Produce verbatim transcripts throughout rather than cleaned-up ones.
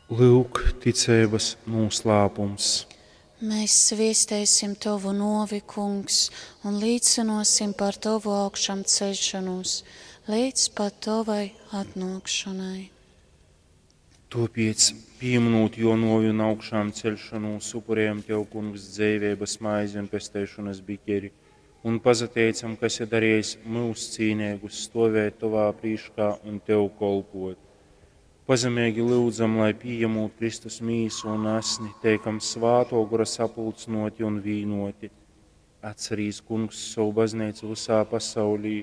Lyuk, ticeibas nūslāpums. Mēs sviestēsim Tovu novi, Kungs, un līcinosim par Tovu augšām ceļšanos, līdz pat Tovai atnākšanai. Tāpēc, pieminot jo novi un augšām ceļšanos, upurējam Tev, Kungs, dzeiveibas maizi un pesteišanas biķeri, un pazateicam, ka esi darījis mūs cīnīgus stovēt Tovā prīškā un Tev kolpot. Pazemīgi lūdzam, lai pieņemot Kristus mīsu un asni, teikam svāto gora sapulcnoti un vīnoti. Atcerīs, Kungs, savu baznīcu visā pasaulī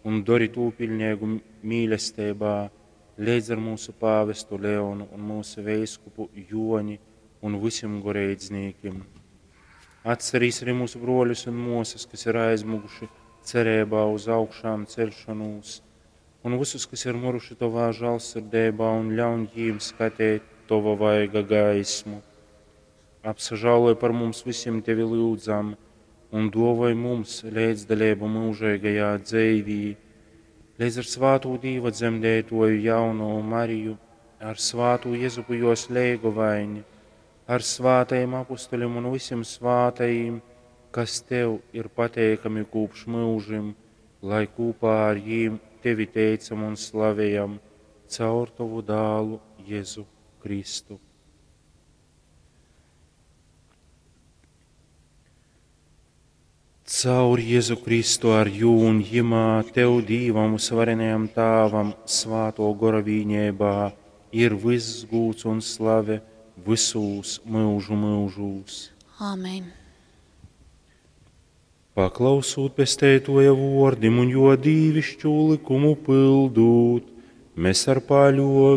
un dori tū pilnīgu mīlestībā, līdz ar mūsu pāvestu Leonu un mūsu veiskupu Joni un visiem goreidznīkim. Atcerīs arī mūsu broļus un mosas, kas ir aizmuguši cerībā uz augšām celšanos, un visus, kas ir muruši Tovā žālsirdībā, un ļauj jīm skatīt Tova vaiga gaismu. Apsažāloj par mums visiem Tevi lūdzam, un dovoj mums līdzdalību mūžīgajā dzīvī, līdz ar svātū Dīva dzemdētoju jauno Mariju, ar svātū Jezupu jos leigovaini, ar svātajiem apustuļiem un visiem svātajiem, kas Tev ir pateikami kopš mūžim, lai kopā ar jīm Tevi teicam un slavējam caur Tavu dālu Jēzu Kristu. Caur Jēzu Kristu ar jū un jimā Tev Dīvam uzvarenajam Tāvam svāto gora vīņībā ir viss gūts un slave visūs mūžu mūžūs. Āmen. Paklausūt pesteitoja vordim un jo dīvišķu likumu pildūt, mēs ar paļovi